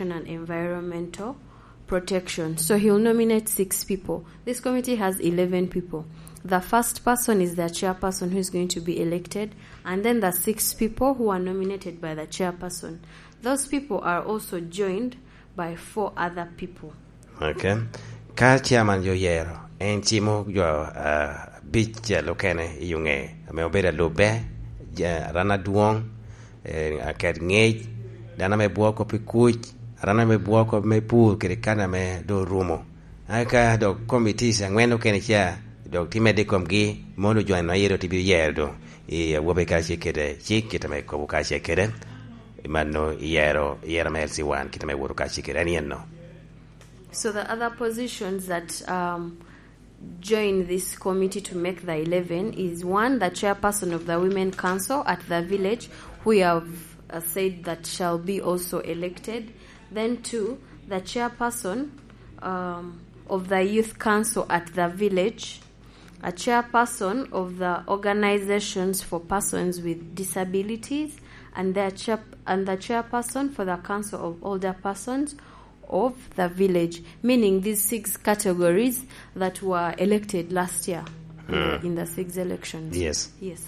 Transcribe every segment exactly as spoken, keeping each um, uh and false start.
and environmental protection. So he'll nominate six people. This committee has eleven people. The first person is the chairperson who is going to be elected, and then the six people who are nominated by the chairperson. Those people are also joined by four other people. Okay. Ka chairman jo oyero, en cimo jo, ah, abicel okene i ŋe, ame obedo alubbe, ja-, aran adwoŋ, eh, aket ŋec, dano ame bwoo kop i kuc, aran ame bwoo kop me pur kede kan ame doŋ orumo. Eka dok committees aŋwen okene ca, dok tye medde i komgi, mono jo eno aye dok tye bino yero doŋ i awobe kacel kede cik, kit ame kobo kacel kede. Mano iyero, iyero me L C one, kit ame woto kacel kede. En yen no. So the other positions that, um, join this committee to make the eleven is, one, the chairperson of the Women Council at the village, who we have, uh, said that shall be also elected. Then two, the chairperson, um, of the Youth Council at the village, a chairperson of the Organizations for Persons with Disabilities, and their chair-, and the chairperson for the Council of Older Persons of the village, meaning these six categories that were elected last year in the, in the six elections. Yes. Yes.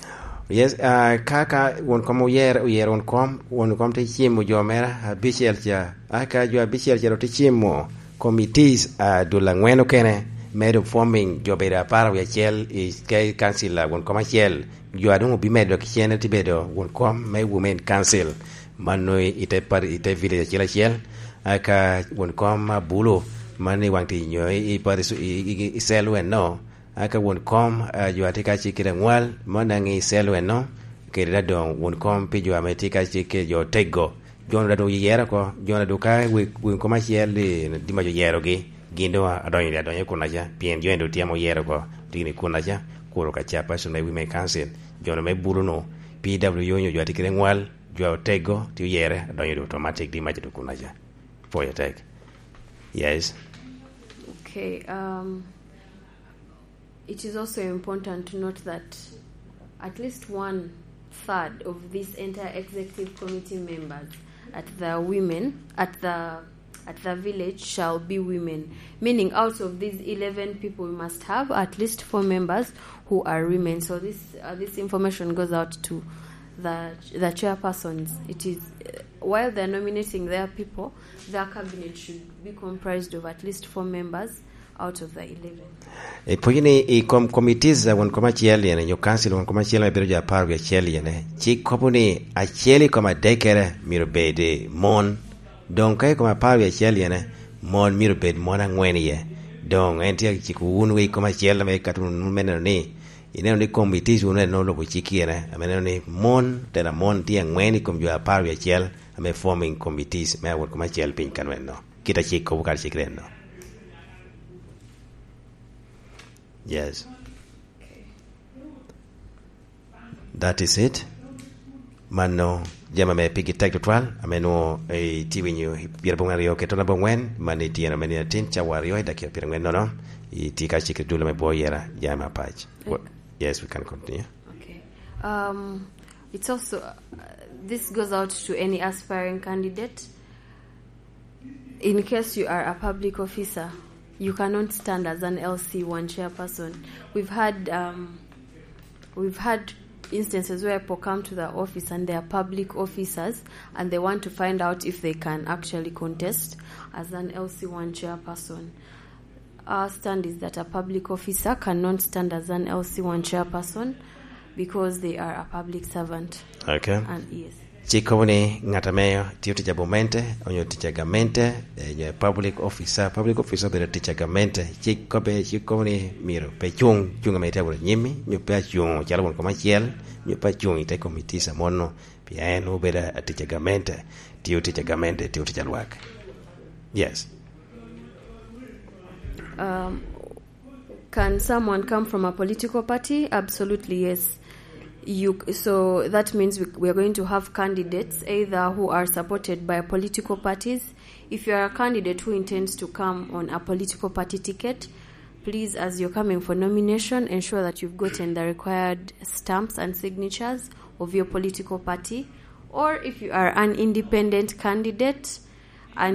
Yes, ah, ka, ka won kom oyer, oyer won kom, won kom te cimo jo mere abicel ca. Aka jo abicel ca te cimo committees, ah, dul angwen okene, medo forming jo bedo apar wie acel i ke-, council a won kom acel. Jo a doŋ obimedo kicene te bedo won kom me Women Council. Mano i, i te par-, i te village acel acel. Aka won kom a Bulu, mano i Waŋ Tic nyo i, i parish, i, i, i cell eno. Aka won kom, ah, jo a tye ka cik kede aŋwal, mano daŋ i cell eno. Kede daŋ doŋ won kom pi jo ame tye ka cik kede jo oteggo. Jo-nu daŋ doŋ oyero oko, jo-nu daŋ ka wi-, won kom acel i, di ma jo oyerogi, gin doŋ adonyo, adonyo i kunnaca, pien jo-nu doŋ tye ame oyero oko, tye i kunnaca, kuro ka chairperson me Women Council, jo-nu me Bulu-nu, P W nyo jo a tye kede aŋwal, jo oteggo, tye oyere, adonyo doŋ automatic, di mac doŋ kunnaca. Pwoyo tek. Yes. Okay, um, it is also important to note that at least one third of this entire executive committee members at the women, at the, at the village shall be women. Meaning, out of these eleven people, we must have at least four members who are women. So this, uh, this information goes out to the, the chairpersons. It is, uh, while they're nominating their people, their cabinet should be comprised of at least four members out of the eleven. Ipwonyo ni i kom committees a won kom acel yene, nyo council won kom acel ame bedo jo apar wie acel yene, cik kobo ni acel i kom adekkere myero bed mon. Doŋ ka i kom apar wie acel yene, mon myero bed mon aŋwen iye. Doŋ en tye aciko wun wei kom acel ame kato wunu me neno ni, ineno ni committees wunu en olubo cik yene, ame neno ni mon, tela mon tye aŋwen i kom jo apar wie acel ame forming committees me a won kom acel piny kanweno. Kit a cik kobo kadi cik ren no. Yes. That is it. Mano jami ame pigi tek tutwal, ame nwo, eh, itye winyo i pyerabongwen aryo kede tona bongwen, man i tyeno me nino atin, cawa aryo i dakika pyerangwen nono, itye ka cik i dul ame bwo yera, jami apac. Wa-, yes, we can continue. Okay. Um, it's also, uh, this goes out to any aspiring candidate. In case you are a public officer, you cannot stand as an L C one chairperson. We've had, um, we've had instances where people come to the office and they are public officers and they want to find out if they can actually contest as an L C one chairperson. Our stand is that a public officer cannot stand as an L C one chairperson because they are a public servant. Okay. And yes. Cik kobo ni ŋat ame tiyo tic a gamente, onyo tic a gamente, eh, nyo public officer, public officer obedo tic a gamente. Cik kobo, cik kobo ni myero pe cuŋ, cuŋ ame itye awot anyimmi, nyo pe acuŋ calo won kom acel, nyo pe acuŋ i te committees a mono, pien en obedo atic a gamente, tiyo tic a gamente, tiyo tic a lwak. Yes. Um, can someone come from a political party? Absolutely, yes. You, so that means we, we are going to have candidates either who are supported by political parties. If you are a candidate who intends to come on a political party ticket, please, as you're coming for nomination, ensure that you've gotten the required stamps and signatures of your political party. Or if you are an independent candidate,